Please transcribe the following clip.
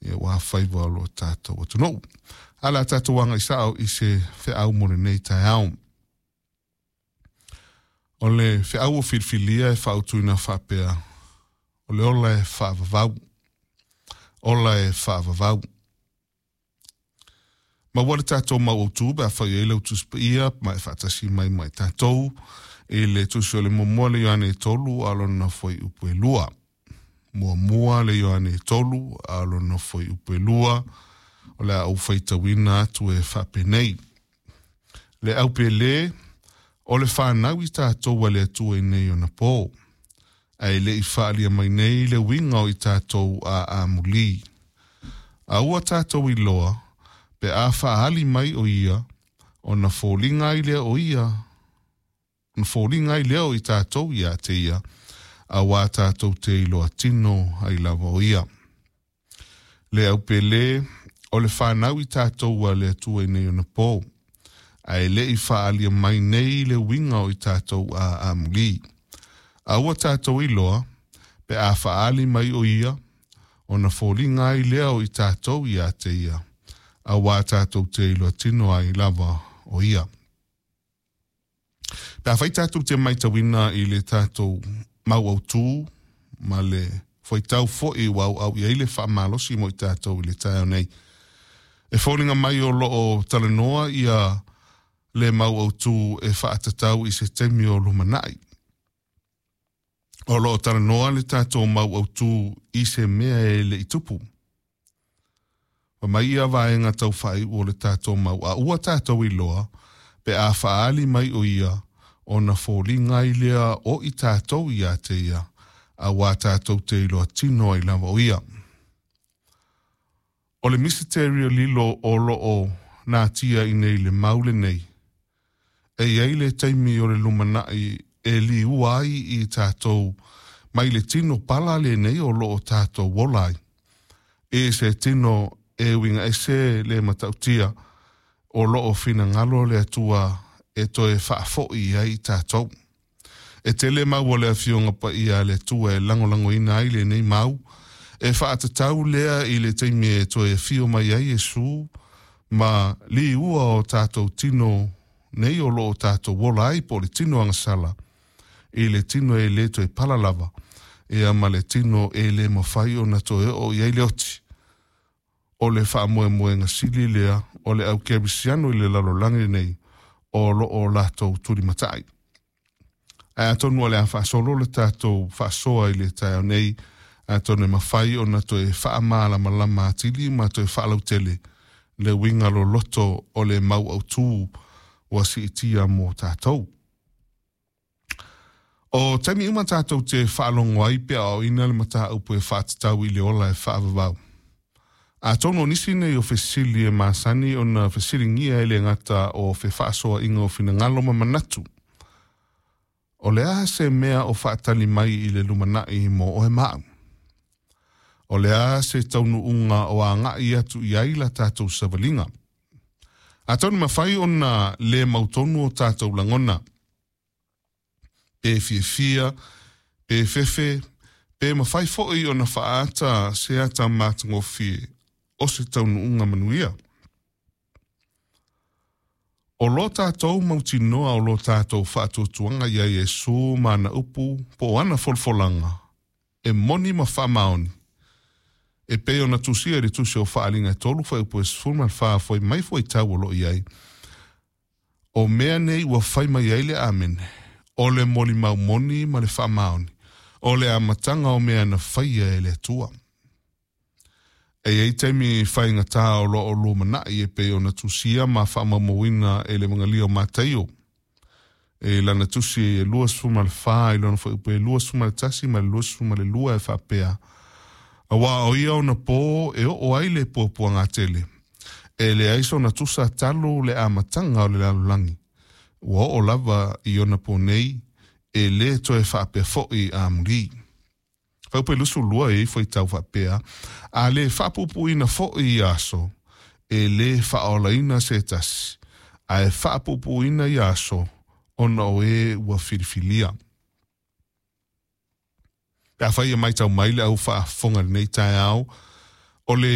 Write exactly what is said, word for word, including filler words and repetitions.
Ia ua faiva o lo tatou atunuu. Ala tatou aga i sao i se feau mo lenei taeao. O le feau o filifilia e faautuina faapea, o le ola e faavavau. Ola e faavavau. Ma ua le tatou mau autu pe afai ai lau Tusi Paia ma e faatasi mai ma i tatou i le tusi o le muamua le Ioane tolu a lona fuaiupu e lua. Muamua le Ioane tolu a lona fuaiupu e lua, o le a ou faitauina atu e faapenei. Le aupele, o le fanau i tatou a le Atua i nei ona pō, ae le i faalia mai nei le uiga o i tatou a amuli. A ua tatou iloa, pe a faaali mai o ia, ona foliga ai lea o ia, ona foliga ai lea o i tatou ia te ia, auā tatou te iloa tino ai lava o ia. Le aupele, o le fanau i tatou a le Atua i nei ona pō, ae le i faalia mai nei le uiga o i tatou a amuli. A ua tatou iloa, pe a faaali mai o ia, ona foliga ai lea o i tatou ia te ia, auā tatou te iloa tino ai lava o ia. Pe afai tatou te matauina i le tatou mau autū ma le fuaitau foi ua auau i ai le faamalosi mo i tatou i le taeao nei, e foliga mai o loo talanoa ia le mau autū e faatatau i se taimi o lumanai. O loo talanoa le tatou mau autū i se mea e le i tupu. Fa mai ia vaega tau faaiu o le tatou mau a ua tatou iloa, pe a faaali mai o ia, ona foliga ai lea o i tatou ia te ia, auā tatou te iloa tino ai lava o ia. O le misiteri o lilo o loo natia i nei le mau lenei, e i ai le taimi o le lumanai e liua ai i tatou mai le tino pala lenei o loo tatou ola ai. E se tino e uiga ese le matautia o loo finagalo le Atua e toe faafoi ai i tatou. E tele mau o le afioga paia a le Atua e lagolagoina ai lenei mau, e faatatau lea i le taimi e toe afio mai ai Iesu ma liua o tatou tino nei o loo tatou ola ai po o le tino agasala, i le tino e le toe pala lava, ia ma le tino e le mafai ona toe oo i ai le oti. O le faamoemoega sili lea o le au kerisiano i le lalolagi nei o loo latou tulimatai. Ae atonu o le a faasolo le tatou faasoa i le taeao nei, atonu e mafai ona toe faamalamalama atili ma toe faalautele le uiga loloto o le mau autū ua siitia mo tatou. O taimi uma tatou te faalogo ai pe aoaoina le mataupu e faatatau i le ola e faavavau. Atonu o nisi nei o fesili e masani ona fesiligia e le gata o fefaasoaʻiga o finagalo ma manatu. O le a se mea o faatali mai i le lumanai mo oe ma au? O le a se taunuuga o agai atu i ai la tatou savaliga? Atonu mafai ona le mautonu o tatou lagona. Pe fiafia, pe fefe, pe mafai foi ona faaata se ata matagofie o se taunuuga manuia. O lo tatou mautinoa o lo tatou faatuatuaga ia Iesu ma ana upu po o ana folafolaga e moni ma faamaoni. E pei ona tusia i le tusi o Faaaliga e tolu fuaiupu e sefulu ma le fa foi mai fuaitau o loo i ai. O mea nei ua fai mai ai le Amene, o le molimau moni ma le faamaoni, o le amataga o mea na faia e le Atua. E i ai taimi faigata o loo lumanai e pei ona tusia ma faamaumauina e le Evagalio o Mataio. E lana tusi e luasefulu ma le fa i lona fuaiupu e luasefulu ma le tasi ma le luasefulu ma le lua e faapea, auā o ia ona pō e oo ai le puapuagatele, e leai sona tusa talu le amataga o le lalolagi, ua oo lava i ona pō nei, e lē toe faapea foʻi amulī. Fuaiupu e luasefulu lua e i ai fuaitau faapea, a lē faapuupuuina foʻi ia aso, e lē faaolaina se tasi, ae faapuupuuina ia aso ona o e ua filifilia. Pe afai e matau mai le au faafofoga i lenei taeao, o le